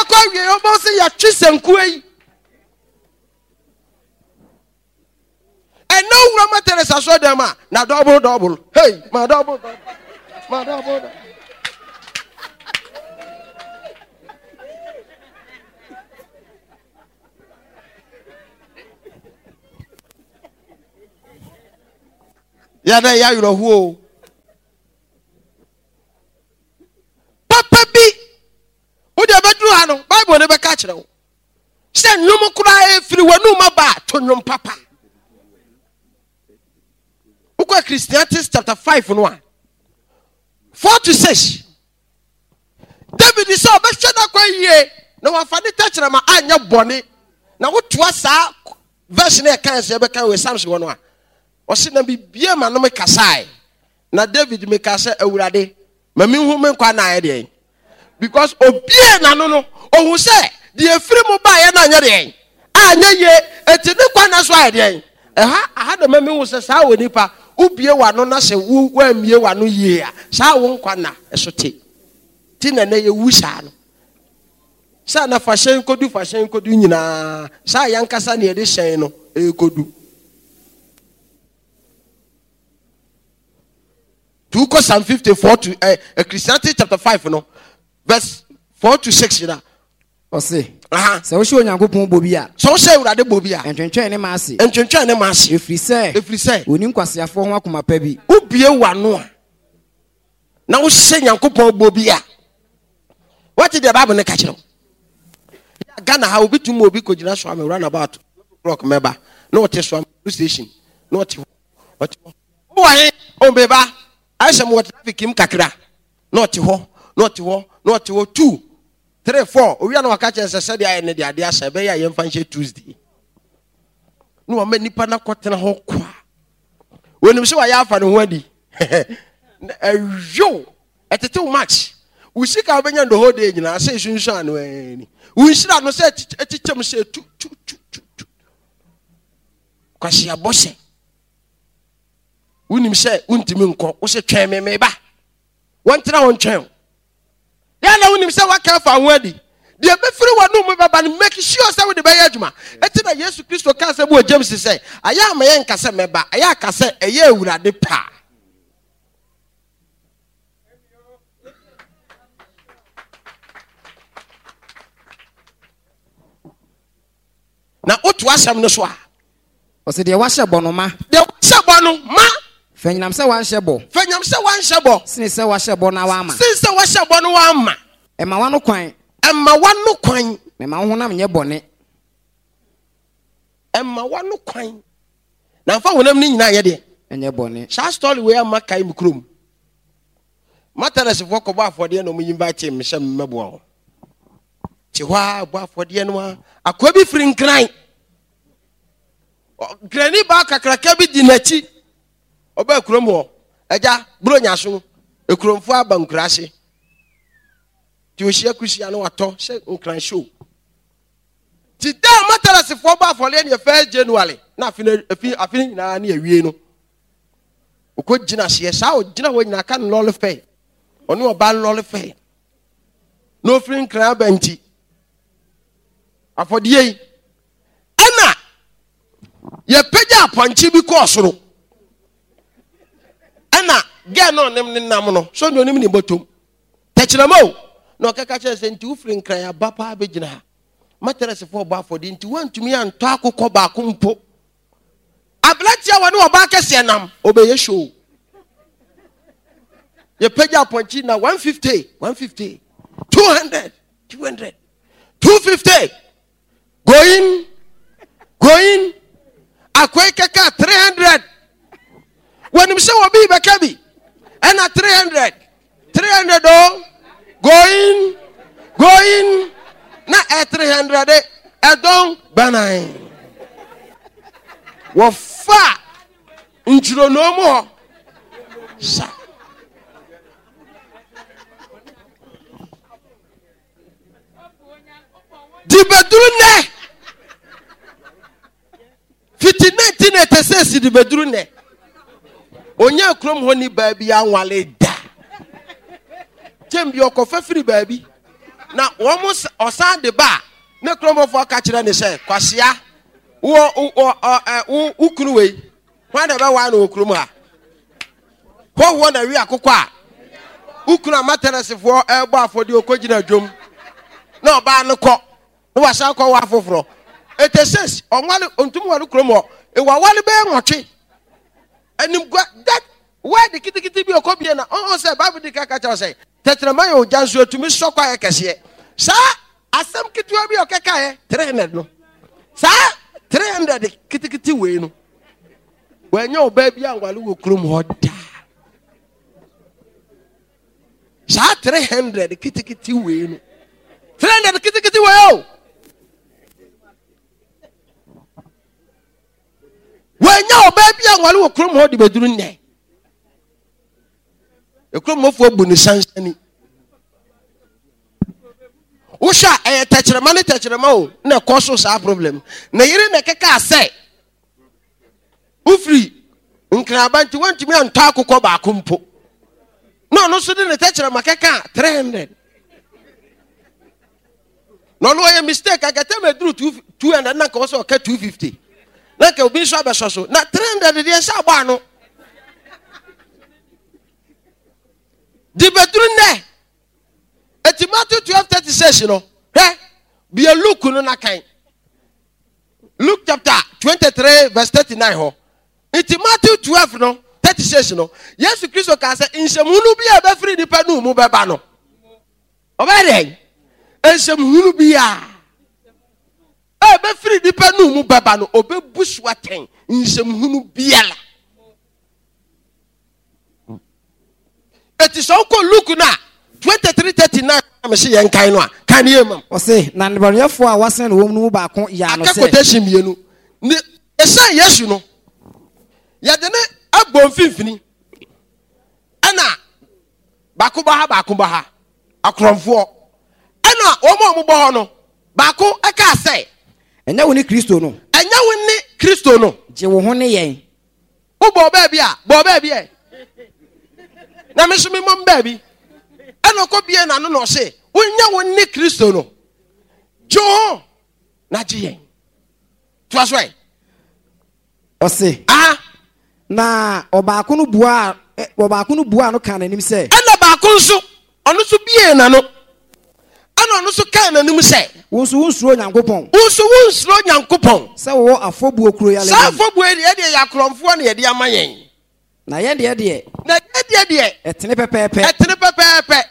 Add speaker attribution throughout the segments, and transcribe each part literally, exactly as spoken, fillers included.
Speaker 1: Ɛbɛkɔ awie, wobɛhu sɛ yɛatwe sankuo yi. Ɛnɛ wowura ma Teresa asɔredan mu a, na dɔbol dɔbol. Hey, ma dɔbol dɔbol. Ma dɔbol dɔbol. Yɛdɛ yɛ awerɛhoɔ o. Papa bi, wode ɛbɛduru ha no, Bible no bɛka kyerɛ wo sɛ nnwom koraa ɛfiri w'anum aba a, to nnwom papa. Wokɔ Ecclesiastes chapter five no a, four to six. David sɛ ɔbɛhwɛ n'akwan yie na wafa ne tɛkyerɛma anyɛ bɔne. Na wotoa saa verse no ɛka sɛ ɛbɛka wɔ Psalms hɔ no a, ɔse na bibie ma no mekasae. Na David meka sɛ, Awurade, ma menhu me nkwa na ayɛ deɛn. Because obie n'ano no, ohu sɛ deɛ efiri mu baeɛ no anyɛ deɛn, anyɛ yie, eti ne nkwa na so ayɛ deɛn. Ɛha, aha na ma mehu sɛ saa wɔ nipa, wobie w'ano na sɛ wo woammie w'ano yie a, saa wo nkwa na ɛso te. Ti na ɛnɛ yɛwu saa no. Sɛ na fa hyɛn kodu, fa hyɛn kodu nyinaa, saa yankasa na yɛde hyɛn no ɛrekɔdu. To kɔ Psalm fifty-four to, eh, Ecclesiastes chapter five no, verse four to six na.
Speaker 2: Ɔse, sɛ wohyɛ Onyankopɔn bɔ bi a,
Speaker 1: sɛ wohyɛ Awurade bɔ bi a,
Speaker 2: ntwentwɛn ne ma ase.
Speaker 1: Ntwentwɛn ne ma ase.
Speaker 2: Ɛfiri sɛ,
Speaker 1: ɛfiri sɛ,
Speaker 2: ɔnni nkwaseafoɔ ho akoma pa bi.
Speaker 1: Wobie w'ano a, na wohyɛ Nyankopɔn bɔ bi a, wate deɛ Bible no ka kyerɛ wo. Ghana ha, obi tumi obi kɔgyina so ame round about o'clock mɛba, na ɔte so ame police station, na ɔte hɔ, ɔte hɔ. Wowɔ he? O meba, ayɛ sɛ mewɔ traffic mu kakra, na ɔte hɔ, na ɔte hɔ, na ɔte hɔ, two, three, four. Owia na waka kyerɛ sɛ sɛdeɛ ayɛ ne deɛ adeɛ asa, ɛbɛyɛ a yɛmfa nhyɛ Tuesday. Na wama nipa no akɔtena hɔ kwa. Wɔnim sɛ wayɛ afa ne ho adi. Ɛyow, ɛtetew match. Wo sika wobɛnya the whole day nyinaa sɛ esunsuan ano ani. Wo nhyira no sɛ ɛkyekyɛm sɛ tu tu tu tu tu. Kwasi abɔhyɛ. Wonim sɛ wontumi nkɔ, wo sɛ twɛn me meba. Wɔntena hɔ ntwɛn wo. Yɛn na wonim sɛ waka afa ho adi. Deɛ bɛfiri w'anom mu bɛba no, make sure sɛ wode bɛyɛ adwuma. Enti na Yesu Kristo kaa sɛ wɔ James sɛ, ayɛ ama yɛn nka sɛ mɛba, ayɛ aka sɛ ɛyɛ Awurade paa. Na woto asɛm no so a,
Speaker 2: ɔsɛ deɛ wahyɛ bɔ no ma.
Speaker 1: Deɛ wahyɛ bɔ no ma.
Speaker 2: Fɛnyinam sɛ wanhyɛ bɔ.
Speaker 1: Fɛnyinam sɛ wanhyɛ bɔ.
Speaker 2: Sene sɛ wahyɛ bɔ na wama.
Speaker 1: Sene sɛ wahyɛ bɔ no wama.
Speaker 2: Ɛma wano kwan.
Speaker 1: Ɛma wano kwan.
Speaker 2: Na ɛma wo honam nyɛ bɔne.
Speaker 1: Ɛma wano kwan. Na nfa honam no nyinaa nyɛ deɛ.
Speaker 2: Ɛnyɛ bɔne.
Speaker 1: Saa story wei ama kae me kurom. Matarɛsfoɔ kɔbɔ afɔdeɛ na ɔmo invite me sɛ mmɛboa wɔn. Te hɔ a bɔ afɔdeɛ no a, akoa bi firi Nkran. Nkrani baa kakraka bi di n'akyi. Ɔbaa kurom hɔ. Agya, Buronya so, ekuromfoɔ aba nkuraase. Nti ohyia kusia no watɔ sɛ Nkran show. Ti da a Matarɛsfoɔ bɔ afɔdeɛ no yɛ first January na afe no afi afe no nyinaa ne awie no. Okɔ gyina aseɛ saa ogyina hɔ nyinaa ka no lɔre fɛ. Ɔne ɔbaa lɔre fɛ. Na ofiri Nkran aba nti. Afɔdeɛ yi ɛna yɛpagya apɔnkye bi kɔɔ soro. Ɛna gɛɛ na ɔnem ne nam no so ne onim ne bɔtɔm. Tɛkyerɛma o na ɔkɛka kyerɛ sɛ nti wofiri Nkran aba paa bɛgyina ha. Matarɛsfoɔ bɔ afɔdeɛ nti woantumi antɔ akokɔ baako mpo. Aberanteɛ a wɔne ɔbaa kɛseɛ nam ɔbɛyɛ show. Yɛpagya apɔnkye na one fifty, one fifty, two hundred, two hundred, two fifty. Going, going, akwai kɛkɛ three hundred. Wɔnim sɛ wɔbi bɛka bi. Ɛna three hundred, three hundred o. Going, going, na ɛ three hundred ɛdɔn banan. Wɔfa ntwironoo mu hɔ. Sa. Di bɛduru nnɛ. Fiti nineteen eighty six di bɛduru nnɛ. Onya kurom hɔ ni baabi anwale da. Kyɛn bi ɔkɔfa firi baabi. Na wɔn ɔsan de ba a, ne kuromfoɔ ka kyerɛ ne sɛ, Kwasia, wo wo ɔ wo wo kunu wei, hwan na ɛbɛwaa no wɔ kurom ha? Hɔhoɔ na wi akokɔ a wo kunu amatɛrɛsefoɔ ɛrebɔ afɔdeɛ ɔkɔgyina dwom na ɔbaa no kɔ na wasan kɔ wɔ afoforɔ. Ete six ɔnwale ɔntumi ware kurom hɔ. Ewawale bɛyɛ nwɔtwe. Animgua that word kitikiti bi ɔkɔ bie na ɔn sɛ Bible di kaka kyerɛ sɛ tɛkyerɛma yɛ ogya nso etumi sɔ kɔ ayɛ kɛseɛ. Saa asɛm ketewa bi ɔkɛkaeɛ three hundred no. Saa three hundred kitikiti wei no. Wɔanya ɔbaa bi anwale wɔ kurom hɔ daa. Saa three hundred kitikiti wei no. three hundred kitikiti wei o. Wɔanya ɔbaa bi anwale wɔ kurom hɔ de bɛduru nnɛ. Ekurom hɔfoɔ bu ne sansani. Wohwɛ a ɛyɛ tɛkyerɛma ne tɛkyerɛma o na ɛkɔ so saa problem. Ne yere na ɛkɛkaa sɛ wofiri nkraba nti wontumi antɔ akokɔ baako mpo. Na ɔno nso de ne tɛkyerɛma kɛkaa three hundred. Na ɔno ɔyɛ mistake akɛtɛ ma eduru two hundred na nka wɔsɛ ɔka two fifty. Na nka obi nso abɛsɔ so. Na three hundred deɛ nsa abɔ ano. De bɛduru nnɛ. Eti Matthew twelve thirty six no, hwɛ, bie Luke no na kan. Luke chapter twenty three verse thirty nine hɔ. Nti Matthew twelve no thirty six no, Yesu Kristo kaa sɛ nsɛmhunu bi a ɛbɛfiri nipa no mu bɛba no. Ɔbɛyɛ dɛn? Nsɛmhunu bi a ɛbɛfiri nipa no mu bɛba no, ɔbɛbu so atɛn nsɛmhunu biara. Eti sɛ wokɔ Luke no a twenty three thirty nine na mese yɛn kan no a kan ne yɛ mam.
Speaker 2: Ɔse na nnebɔneyɛfoɔ a wɔasɛn no wɔn no mu baako yaa no
Speaker 1: Aka
Speaker 2: sɛ.
Speaker 1: quotation mmienu. Ne ɛsɛn Yesu no yɛde ne abɔ mfimfini ɛna baako bɔ ha baako bɔ ha akorɔmfoɔ ɛna wɔn a wɔbɔ hɔ no baako ɛkaa sɛ.
Speaker 2: Ɛnyɛ wo ne Kristo no.
Speaker 1: Ɛnyɛ wo ne Kristo no.
Speaker 2: Gye wo ho ne yɛn.
Speaker 1: Wobɔ baabi a bɔ baabi ɛ na me nso memmɔ baabi ɛna ɔkɔ bie n'ano na ɔse wonyɛ wo ne Kristo no gye wo ho na gye yɛn. Toa so ɛ.
Speaker 2: Ɔse
Speaker 1: aha
Speaker 2: na ɔbaako no buaa ɔbaako no buaa no kaa n'anim sɛ.
Speaker 1: Ɛna baako nso ɔno nso bie n'ano ɛna ɔno nso kaa n'anim sɛ.
Speaker 2: Wo nso wonsuro Nyankopɔn.
Speaker 1: Wo nso wonsuro Nyankopɔn.
Speaker 2: Sɛ wowɔ afɔbuo kuro yale.
Speaker 1: Saa afɔbuo yi deɛ yɛ akorɔmfoɔ na yɛde ama yɛn.
Speaker 2: Na yɛn deɛ deɛ.
Speaker 1: Na yɛn deɛ deɛ.
Speaker 2: Ɛtene pɛpɛɛpɛ.
Speaker 1: Ɛtene pɛpɛɛpɛ.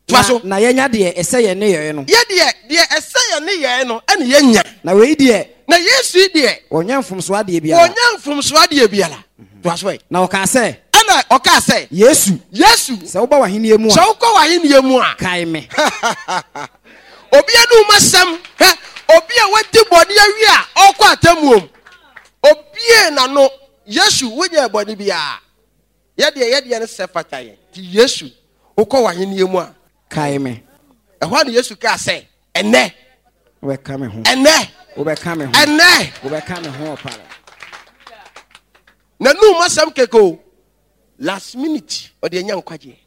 Speaker 1: Toa so.
Speaker 2: Na yɛnya deɛ ɛsɛ yɛn ne yɛn no.
Speaker 1: Yɛ deɛ deɛ ɛsɛ yɛn ne yɛn no ɛna yɛnya.
Speaker 2: Na wei deɛ.
Speaker 1: Na Yesu yi deɛ.
Speaker 2: Ɔnyɛ mfomsoɔ adeɛ biara.
Speaker 1: Ɔnyɛ mfomsoɔ adeɛ biara. Toa so ɛ.
Speaker 2: Na ɔkaa sɛ.
Speaker 1: Ɛna ɔkaa sɛ.
Speaker 2: Yesu.
Speaker 1: Yesu.
Speaker 2: Sɛ woba w'ahennie mu a.
Speaker 1: Sɛ wokɔ w'ahennie mu a.
Speaker 2: Kae me.
Speaker 1: Obi anum asɛm hwɛ obi a wadi bɔne awie a ɔkɔ atemmuom. Obie n'ano Yesu wonyɛ bɔne biara. Yɛdeɛ yɛdeɛ no sɛ fata yɛn. Ti Yesu wokɔ w'ahennie mu a.
Speaker 2: Kae me.
Speaker 1: Ɛhɔ a na Yesu kaa sɛ ɛnɛ.
Speaker 2: Wobɛka me ho.
Speaker 1: Ɛnɛ.
Speaker 2: Wobɛka me ho.
Speaker 1: Ɛnɛ.
Speaker 2: Wobɛka me ho ɔpara.
Speaker 1: N'anum asɛm keke o. Last minute ɔde anya nkwagyeɛ.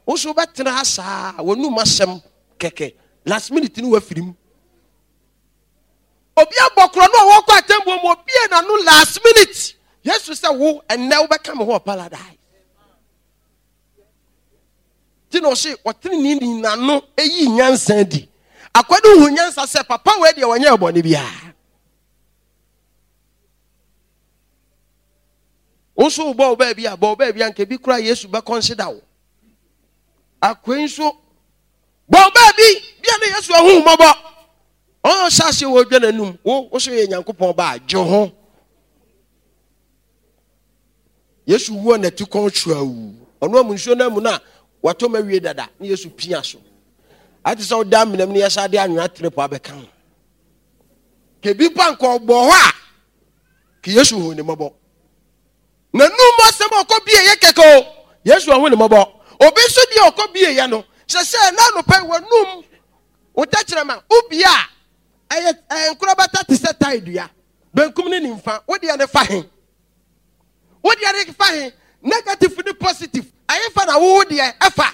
Speaker 1: Wo nso wobɛtena ha saa w'anum asɛm kɛkɛ last minute no wafiri mu. Obi abɔ korɔ no a wɔkɔ atemmuo mu obie n'ano last minute. Yesu sɛ wo ɛnɛ wobɛka me ho wɔ paradise. Ti na ɔse ɔtenene ni n'ano eyi nyansa di. Akwadu hu nyansa sɛ papa wei deɛ wɔnyɛ bɔne biara. Wo nso wobɔ wo baabi a bɔ wo baabi a nka bi kura Yesu bɛ consider wo. Akwai nso bɔ wo baabi bia ne Yesu ahu mmɔbɔ. Ɔn hyɛ aseɛ wɔ dwa n'anum wo wo so yɛ Nyankopɔn ba a gye ho. Yesu wuo na ti kɔn twawu. Ɔno amu nsuo no amu no a watɔ ma wie dada ne Yesu pia so. Ate sɛ woda amenam ne yɛsa de anwea tere po abɛka ho. Kebi pa nka ɔbɔ hɔ a ke Yesu hu ne mmɔbɔ. N'anum asɛm a ɔkɔ bie yɛ kɛkɛ o. Yesu ahu ne mmɔbɔ. Obi nso deɛ ɔkɔ bie yɛ no sɛ sɛ n'anopɛ w'anum wo tɛkyerɛma wobie a ɛyɛ ɛyɛ nkorabata te sɛ tae dua. Benkum ne nimfa wo deɛ ne fa he. Wo deɛ ne fa he. Negative ne positive ɛyɛ fa na wo deɛ ɛfa.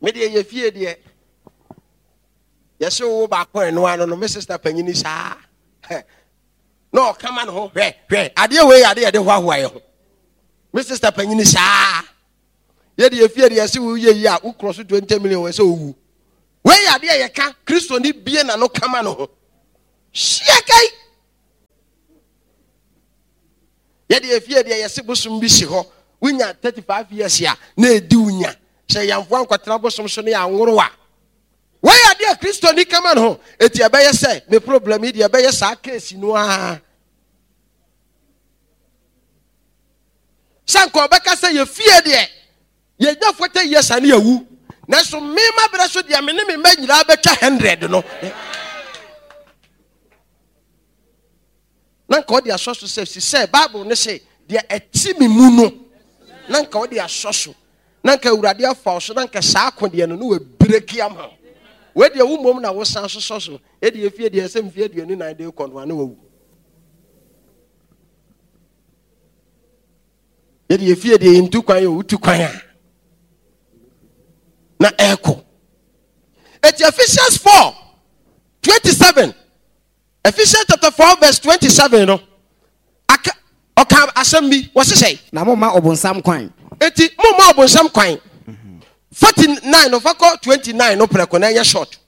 Speaker 1: Me deɛ yɛ fie deɛ yɛsɛ wo baako ɛno ano no me sister panyini saa na ɔka ma ne ho hwɛ hwɛ adeɛ wei adeɛ yɛde hoahoa yɛ ho. Me sister panyini saa yɛde yɛ fie deɛ yɛsɛ wo yɛ yi a wokorɔ so twenty million wɔ sɛ owu. Wei adeɛ yɛka Kristo ni bie na no kama ne ho. Hyia kai. Yɛde yɛ fie deɛ yɛsɛ bosom bi si hɔ wonya thirty-five years a na edi wonya sɛ yɛmfoa nkɔtena bosom so ne anworo a. Wei adeɛ Kristo ni kama ne ho. Eti ɛbɛyɛ sɛ me problem yi deɛ ɛbɛyɛ saa case no a. Sɛ nka ɔbɛka sɛ yɛ fie deɛ yɛnya forty years a ne yɛwu. Nanso me ma berɛ so deɛ me ne me mma nyinaa bɛtwa hundred no. Na nka ɔde asɔ so sɛ si sɛ Bible ne sɛ deɛ ɛte me mu no. Na nka ɔde asɔ so. Na nka Awurade afa so na nka saa akodeɛ no no wɔ ama. Wei deɛ wo mmom na wosan sosɔ so. Ɛde efie deɛ sɛ mfie aduonu nan de kɔ no a na wawu. Yɛde efie deɛ yɛntu kwan yɛ wotu kwan a na ɛkɔ. Eti Ephesians four twenty-seven. Ephesians chapter four verse twenty-seven no. Aka ɔka asɛm bi wɔsesɛ.
Speaker 2: Na mo ma ɔbonsam kwan.
Speaker 1: Eti mo ma ɔbonsam kwan. forty-nine no fa kɔ twenty-nine no prɛko na ɛnyɛ short.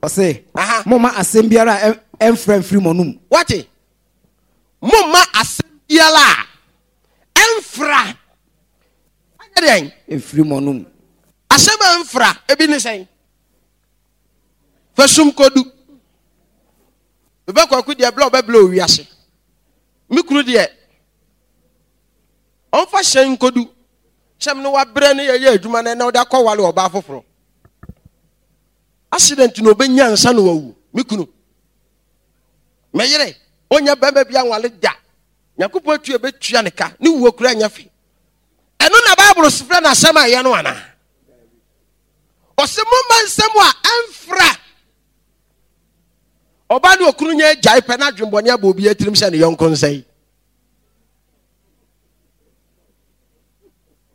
Speaker 2: Ɔse mo ma asɛm biara a ɛmfra mfiri mo anum.
Speaker 1: Wate? Mo ma asɛm biara a ɛmfra. Ɛnyɛ deɛn?
Speaker 2: Mfiri mo anum.
Speaker 1: Asɛm a ɛmfra ebi ne sɛn? Fasum kodu. Bɛbɛ kwaku deɛ blɛ ɔbɛblɛ owiase. Me kunu deɛ ɔmfa hyɛn nkodu. Hyɛm no wabrɛ ne yɛyɛ adwuma na ɛna ɔde akɔwale ɔbaa foforɔ. Accident na ɔbɛnya nsa na wawu. Me kunu. Me yere ɔnya bɛrima bi anwale da. Nyankopɔn atua bɛtua ne ka. Ne wuo kura nyɛ fe. Ɛno na Bible frɛ no asɛm a ɛyɛ no anaa? Ɔse momma nsɛm a ɛmfra. Ɔbaa ne okunu nya agyae pɛ na adwembɔne abɔ obi atirim sɛ ne yɔnko nsɛe.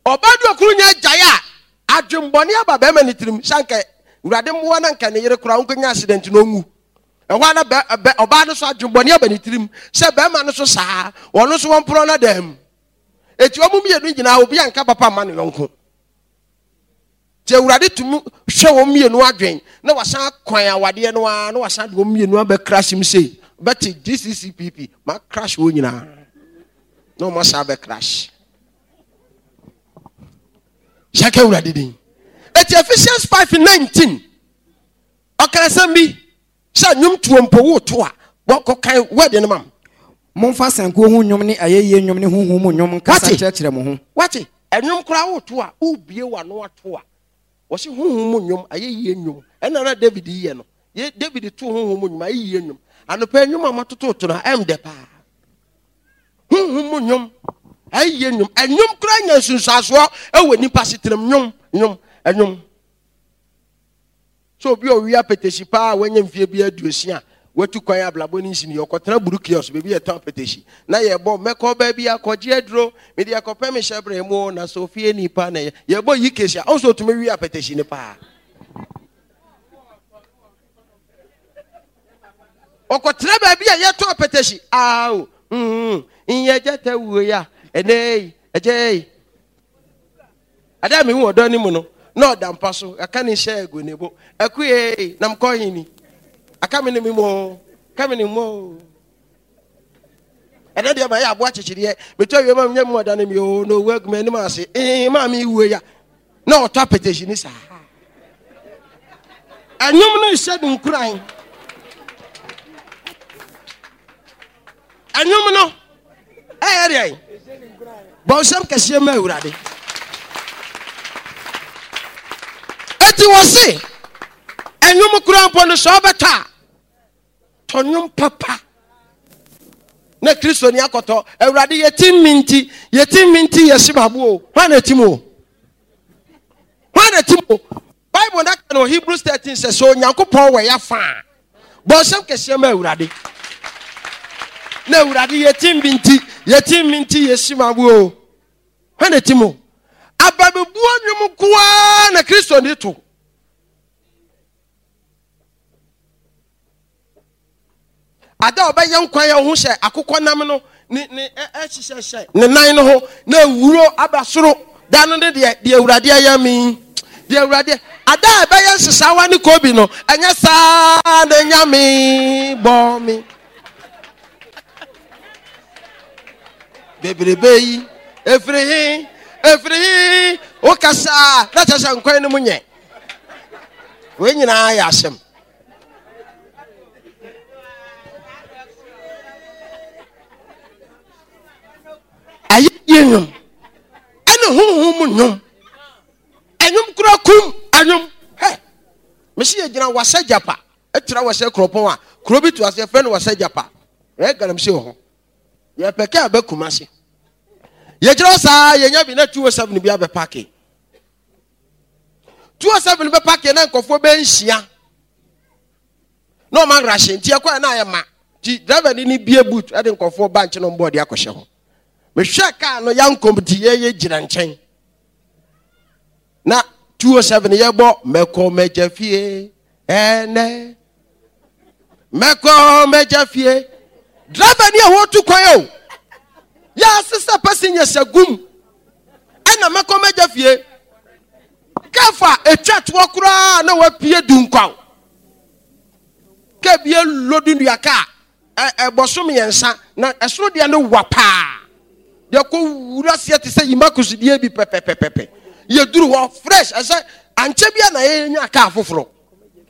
Speaker 1: Ɔbaa ne okunu nya agyae a adwembɔne aba bɛrima ne tirim sɛ anka Awurade mmoa na anka ne yere koraa ɔnkɔnya accident na ɔnwu. Ɛhɔ ara na bɛ ɔbaa no so adwembɔne aba ne tirim sɛ bɛrima no so saa ɔno nso wɔmporɔ no dam. Eti wɔn mmienu nyinaa obi anka papa mma ne yɔnko. Nti Awurade tumi hwɛ wɔn mmienu adwen na wasan kwan awadeɛ no ara na wasan de wɔn mmienu abɛ crash mu sei bɛte G C C P P ma crash wɔn nyinaa na wɔn asan abɛ crash. Hyɛka Awurade din. Eti Ephesians five nineteen ɔka asɛm bi sɛ nnwom tuo mpo woto a wɔkɔkan word no ma m.
Speaker 2: Momfa sankuo ho nnwom ne ayɛyie nnwom ne honhom mu nnwom nkasa kyerɛkyerɛ mo ho.
Speaker 1: Wate? Ɛnwom koraa woto a wobie w'ano ato a wɔse honhom mu nnwom ayɛyie nnwom ɛna na David yɛ no. Ye David to honhom mu nnwom ayɛyie nnwom. Anɔpa nnwom a matototo no ɛm dɛ paa. Honhom mu nnwom ayɛyie nnwom. Ɛnwom koraa nya nsunsuansoɔ ɛwɔ nipa setenam nnwom nnwom ɛnwom. So obi a ɔwia apɛtɛsi paa a wanya mfie bi aduosia watu kwan ablabɔ ne nsini ɔkɔtena buru kiosk baabi yɛtɔn apɛtɛsi na yɛbɔ mɛkɔ baabi akɔgye aduro mede akɔpɛ me hyɛbrɛ mu na sɛ ofie nipa na yɛbɔ yi kesi a ɔnso otumi wi apɛtɛsi ne paa. Ɔkɔtena baabi a yɛtɔn apɛtɛsi awo mm nyɛ gyata wuo ya ɛnɛ yi ɛgyɛ yi ada mi hu ɔdɔ ne mu no na ɔda mpa so aka ne hyɛ egu ne bo akue nam kɔ hin ni aka me ne mi mo ka me ne mo ɛnɛ deɛ ma yɛ aboa kyekyereɛ metɔ wie ma nyɛ mu ɔda ne mi o na owu agu m'anim ase ee maa mi wuo ya na ɔtɔ apɛtɛsi ne saa ɛnwom no hyɛ no nkuran ɛnwom no ɛyɛ deɛ bɔnsɛm kɛseɛ ma Awurade. Eti wɔ se ɛnwom kura mpo no sɛ ɔbɛtɔ a tɔ nwom papa na Kristo ni akɔtɔ Awurade yɛti mi nti yɛti mi nti yɛsi ma bo o hwan na ɛti mu o hwan na ɛti mu o Bible na ka no Hebrews thirteen sɛ sɛ Onyankopɔn wɔ yɛ fa a bɔnsɛm kɛseɛ ma Awurade na Awurade yɛti mi nti yɛti mi nti yɛsi ma bo o hwan na ɛti mu Abamebuo nnwom nkoaa na Kristo ni to. Ada a ɔbɛyɛ nkwan a ɔho hyɛ akokɔ nam no ne ne ɛhyehyɛhyɛ ne nan no ho na ewuro aba soro da no ne deɛ deɛ Awurade ayɛ mi deɛ Awurade ada a ɛbɛyɛ nsesawa ne kobi no ɛnyɛ saa na Nyame bɔ mi bebrebe yi efiri he efiri he wokasa na kyerɛ sɛ nkwan no mu nyɛ wei nyinaa yɛ asɛm. Ayɛyie nnwom ɛne honhom mu nnwom ɛnwom kura kum ɛnwom hɛ mesi yɛ gyina wasa gyapa ɛtra wasa kuropɔn a kuro bi to ase yɛfrɛ no wasa gyapa ɛyɛ galamsey wɔ hɔ yɛpɛ kaa bɛ kuma se yɛgyina saa yɛnya bi na two oh seven bi abɛ paake two oh seven bɛ paake na nkɔfoɔ bɛ nhyia na ɔma nrahyɛ nti ɛkɔ na ayɛ ma nti driver ni ni bie boot ɛde nkɔfoɔ ba nkyɛn na ɔmbɔ ɔde akɔhyɛ hɔ mehwɛ kaa no yankom ti yɛyɛ gyina nkyɛn na two oh seven yɛbɔ mɛkɔ mɛgya fie ɛnɛ mɛkɔ mɛgya fie driver ni a wɔtu kwan o yɛ asesa passengers agum ɛna mɛkɔ mɛgya fie kafa etwa toɔ koraa na wapue dunkwaw kaa bi alodu nnua kaa ɛbɔ so mmiɛnsa na ɛsoro deɛ no wa paa deɛ kɔ wura seɛ te sɛ yima kusudeɛ bi pɛpɛpɛpɛ yɛduru hɔ fresh ɛsɛ ankyɛ bi a na yɛnya kaa foforɔ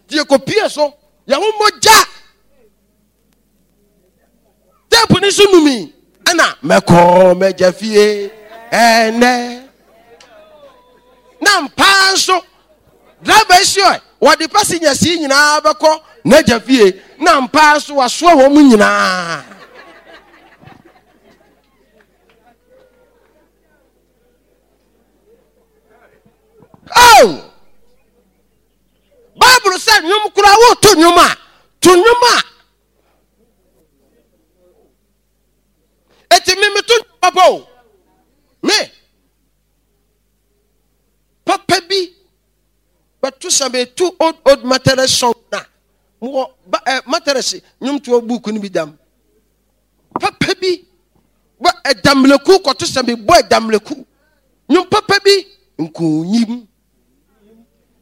Speaker 1: deɛ kɔ pie so yɛho mogya teepu ne so numi ɛna mɛkɔ mɛgya fie ɛnɛ na mpaa nso driver si ɔ wɔde passengers yi nyinaa bɛkɔ n'agya fie na mpaa nso wasoa wɔn mu nyinaa oh Bible sɛ nnwom koraa woto nnwom a to nnwom a eti mi meto nnwom papa o me papa bi bɛto sɛ meto old old Methodist song na mowɔ ba ɛ Methodist nnwomtoɔ book no bi dam papa bi bɔ ɛdamleku kɔto sɛ mebɔ ɛdamleku nnwom papa bi nkunyim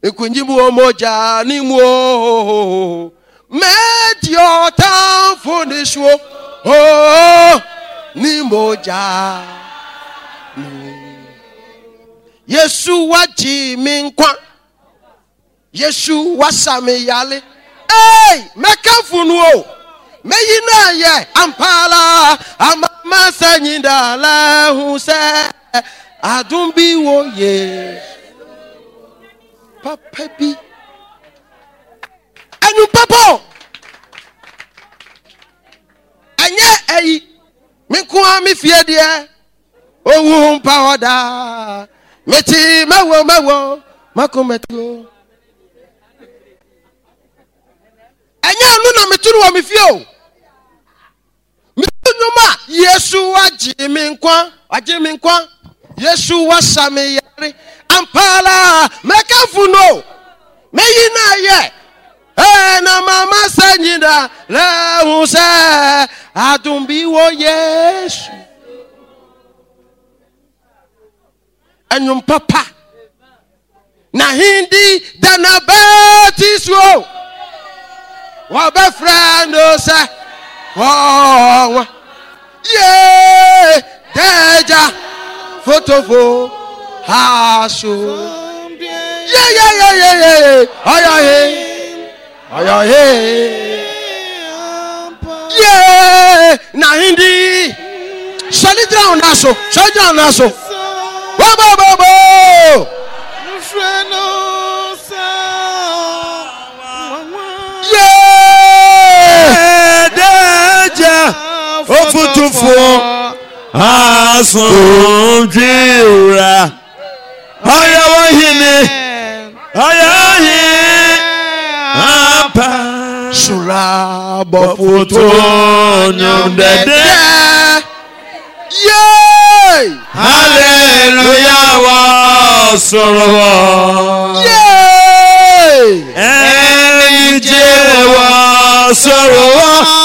Speaker 1: nkunyim wɔ mogya ne mu o mɛdi ɔtamfo ne so o ne mogya Yesu wagye me nkwa Yesu wasa me yale ei mɛkamfo no o mɛyi no ayɛ ampala amama sɛ nyindala hu sɛ adom bi wɔ Yesu papa bi ɛnum papa o ɛnyɛ ɛyi me nko ara me fie deɛ owu mpa hɔ daa mete mɛwɔ mɛwɔ makomatuo ɛnyɛ ɛno na meto no wɔ me fie o meto nnwom a Yesu wagye me nkwa wagye me nkwa Yesu wasa me yare ampala mɛkamfo no mɛyi no ayɛ ɛna mama sɛ nyina lɛhu sɛ adom bi wɔ Yesu ɛnwom papa na hindi da na bɛti so wɔbɛfrɛ no sɛ wɔwa ye dɛgya fotofo ha so ye ye ye ye ye ɔyɔ he ɔyɔ he ye na hindi sɔli gyina wɔn nan so sɔli gyina wɔn nan so bobobobo ye
Speaker 3: Dɛgya ofutufo asomdwewura ɔyɛ wɔ hene ɔyɛ he ampa
Speaker 1: sora
Speaker 3: bɔfoto nnwom dɛdɛ
Speaker 1: ye
Speaker 3: hallelujah wɔ wɔ soro hɔ.
Speaker 1: Yay!
Speaker 3: Anigye wɔ soro hɔ.